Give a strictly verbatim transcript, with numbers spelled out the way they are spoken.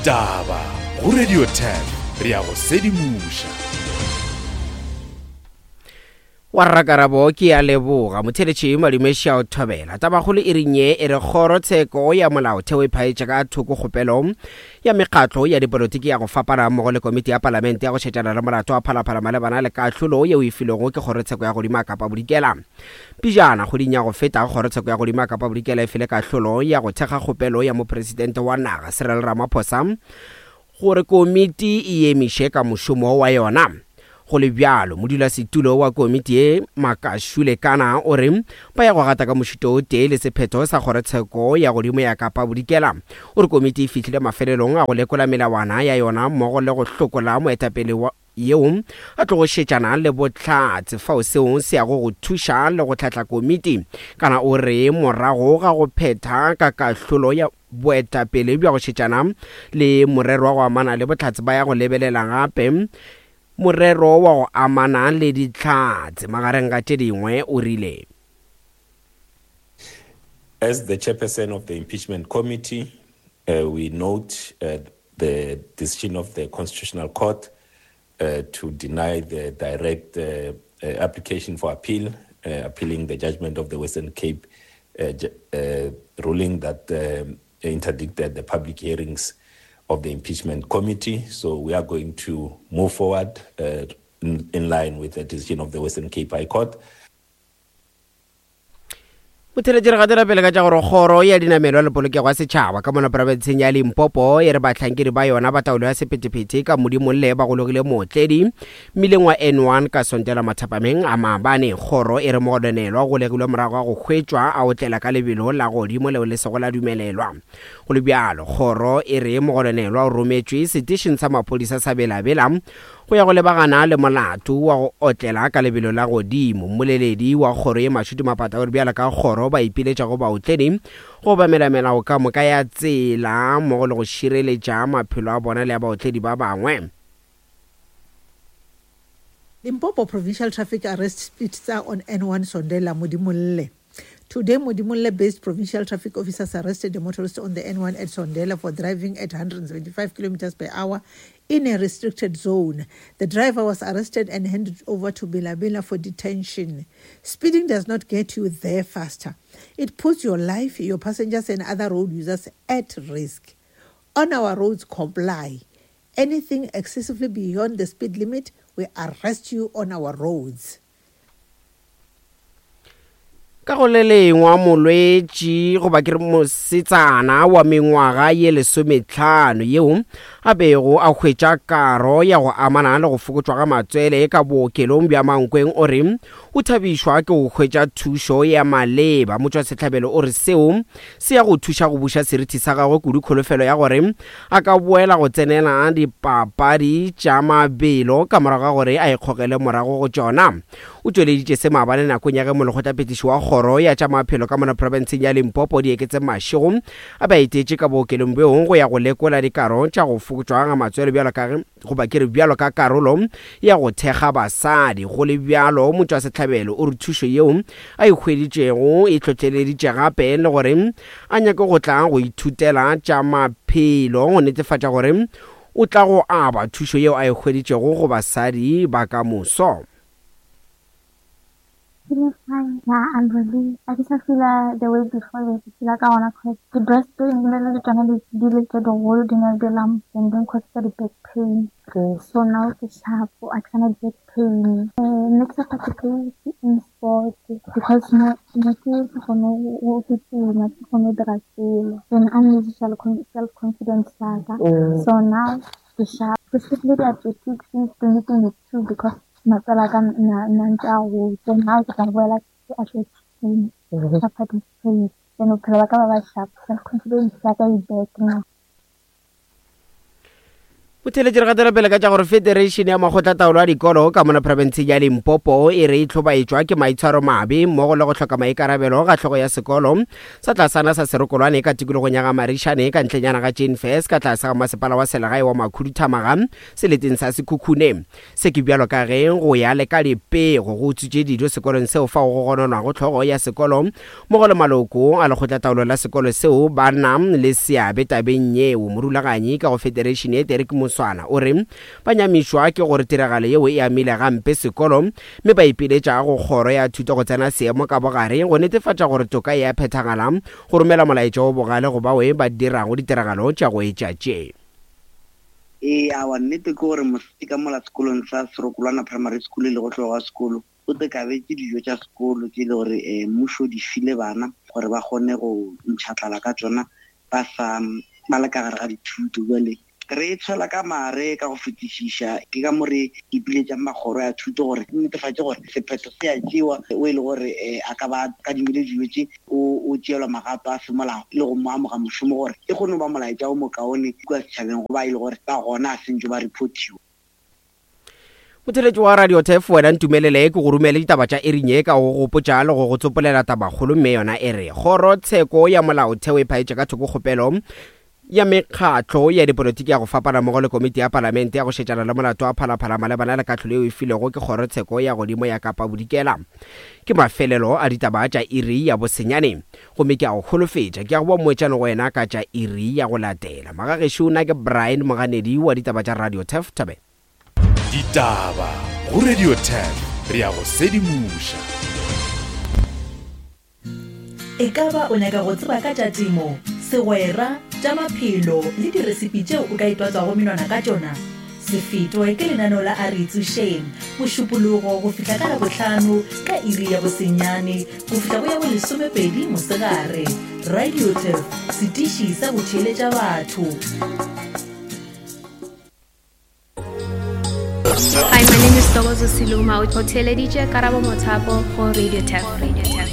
Ditaba go Radio ten re ya go sedimoša. Wa rrakarabo ke a leboga motheletši Madume o thobela. Tabakgolo e reng ye e re kgorotsheko ya molaotheo e phaetše ka thoko kgopelo ya mekgatlo ya dipolotiki ya go fapana mmogo le komiti ya palamente ya go šetšana le molato wa Phalaphala malebana le kahlolo yeo e filwego ke kgorotsheko ya godimo ya Kapa Bodikela. Pejana kgweding ya go feta kgorotsheko ya godimo ya Kapa Bodikela e file kahlolo ya go thekga kgopelo ya mopresidente wa naga Cyril Ramaphosa gore komiti e emiše ka mošomo wa yona. Go le bjalo, modulasetulo wa komiti ye Makashule Kana o re ba ya go gata ka mošito o tee le sephetho sa kgorotsheko ya godimo ya Kapa Bodikela. O re komiti e fihlile mafelelong a go lekola melawana ya yona mmogo le go hlokola moetapele wa yeo a tlogo šetšana le bohlatse fao seo se yago go thuša le go hlahla komiti. Kana o re morago ga go phetha ka kahlolo ya boetapele bja go šetšana le morero wa go amana le bohlatse ba ya go lebelela gape morero wa go amana le dihlatse magareng ga tše dingwe o rile. As the chairperson of the impeachment committee, uh, we note uh, the decision of the Constitutional Court uh, to deny the direct uh, uh, application for appeal, uh, appealing the judgment of the Western Cape uh, uh, ruling that um, interdicted the public hearings of the impeachment committee. So we are going to move forward uh, in, in line with the decision of the Western Cape High Court. Motheletši re gatela pele ka tša gore kgoro ya dinamelwa le polokego ya setšhaba ka mona profenseng ya Limpopo e re bahlankedi ba yona ba taolo ya sephethephethe ka Modimolle ba gologile mootledi mmileng wa N one ka Sontela mathapameng a maabane. Kgoro e re mogononelwa o golegilwe morago ga go hwetšwa a otlela ka lebelo la godimo leo le sego la dumelelwa. Go le bjalo, kgoro e re mogononelwa o rometšwe setešeng sa maphodisa sa Belabela go ya go lebagana le molato wa go otlela ka lebelo la godimo. Mmoleledi wa kgoro ye Mashudu Mapata o re bjalo ka kgoro ba ipiletša go baotledi go obamela melao ka moka ya tsela mmogo le go šireletša maphelo a bona le a baotledi ba bangwe. Limpopo Provincial Traffic Arrest Speedster on N one Sondela Modimolle. Today, Modimolle-based provincial traffic officers arrested a motorist on the N one at Sondela for driving at one hundred seventy-five kilometers per hour in a restricted zone. The driver was arrested and handed over to Bilabila for detention. Speeding does not get you there faster. It puts your life, your passengers and other road users at risk. On our roads, comply. Anything excessively beyond the speed limit, we arrest you on our roads. Ka go le lengwa molwetši goba ke re mosetsana wa mengwaga ye lesometlhano yeo a bego a hwetša karo ya go amana le go fokotšwa ga matswele ka bookelong bja Mankweng o re o thabišwa ke go hwetša thušo ya maleba. Motšwasehlabelo o re seo se ya go thuša go buša seriti sa gagwe kudu kholofelo ya gore a ka boela go tsenela dipapadi tša mabelo ka morago ga gore a ikgogele morago go tšona. O tšweleditše se maabane nakong ya ge molekgotlaphethiši wa kgoro ya tša maphelo ka mona profenseng ya Limpopo Dieketse Mashego a be a etetše ka bookelong bjo go ya go lekola dikaro tša go fokotšwa ga matswele bjalo ka ge goba ke re bjalo ka karolo ya go thekga basadi. Go le bjalo, motšwasehlabelo o re thušo yeo a e hweditšego e hlohleleditše gape le gore a nyake go tla go ithutela tša maphelo go netefatša gore o tla go aba thušo yeo a e hweditšego go basadi ba ka moso. Feeling fine. Yeah, I'm relieved. I just feel uh, the way before we feel like I wanna cause the breast pain le tsona di di le tse digolo di na di la and then cause the back pain. Okay. So now ke sharp, I cannot back pain. Uh, next I participate in sport because no no ke kgone go kitima, ke kgone go dira selo. Then I'm lose self confidence sa ka. So now ke sharp. Ke skippile di-athletics since twenty twenty-two because matswele a ka na na ntse a gotse. So now ke tla boela ke athletics ka participate. Then bophelo ba ka ba ba sharp, self confidence ya ka e back now. Motheletši re gatela pele ka tša gore Federation ya Makgotlataolo a Dikolo ka mona profenseng ya Limpopo e re e hlobaetšwa ke maitshwaro mabe mmogo le go hloka maikarabelo ga hlogo ya sekolo sa tlasana sa Serokolwane ka tikologong ya ga Marišane ka ntlenyana ga Jane Fess ka tlase ga masepala wa selegae wa Makhuduthamaga seleteng sa Sekhukhune. Se ke bjalo ka ge go ya le ka dipego go utswitše dijo sekolong seo fao go gononwago hlogo ya sekolo mmogo le maloko a lekgotlataolo la sekolo seo ba na le seabe tabeng yeo. Morulaganyi ka go Federation ye Derek Moswana o re ba nyamišwa ke gore tiragalo yeo e amile gampe sekolo mme ba ipiletša go kgoro ya thuto go tsena seemo ka bogare go netefatša gore toka e a phethagala go romela molaetša o bogale go bao ba dirago ditiragalo tša go etša tše. Ee, awa nnete ke gore mosadi ka mola sekolong sa Serokolwana Primary School le go tloga sekolo o te kabetše dijo tša sekolo tše le gore um mmušo di file bana gore ba kgone go ntšha tlala ka tsona ba sa ba le ka gare ga dithuto. Jwale re tshwela ka mare ka go fetišiša, ke ka mo re ipiletšang makgoro ya thuto gore netefatše gore sephetho se a tšewa o e le gore a ka ba kadimile dijo tše o o tšeelwa magato a semolao le go mo amoga mošomo gore e kgone go ba molaetša o mokaone kua setšhabeng go ba e le gore ba gona a sentše ba reportiwa. Motheletši wa Radio Turf wena ntumelele ke go romele ditaba tša iring ye ka go gopotša le go go tsopolela tabakgolo mme yona e re kgorotsheko ya molaotheo e phaetše ka thoko kgopelo ya mekgatlo ya dipolotiki ya go fapana mmogo le komiti ya palamente ya go šetšana le molato wa Phalaphala malebana le kahlolo yeo e filwego ke kgorotsheko ya godimo ya Kapa Bodikela. Ke mafelelo a ditaba tša iri ya bosenyane gomme ke a go holofetša ke a go ba moetšane go wena ka tša iri ya go latela. Magagešo nna ke Brian Moganedi wa ditaba tša Radio Turf Thabela. Ditaba go Radio Turf re ya go sedimoša. E ka ba o nyaka go tseba ka tša temo, segwera, tša maphelo le diresipi tšeo o ka itwatswago menwana ka tšona? Se fetwe ke lenaneo la A Re Itsošeng, Mošupologo go fihla ka Labohlano ka iri ya bosenyane go fihla go ya bo lesomepedi mosegare. Radio Turf, setiši sa go theeletša batho. Hi, my name is Togozo Siluma. O theeleditše Karabo Mothapo go Radio Turf. Radio Turf.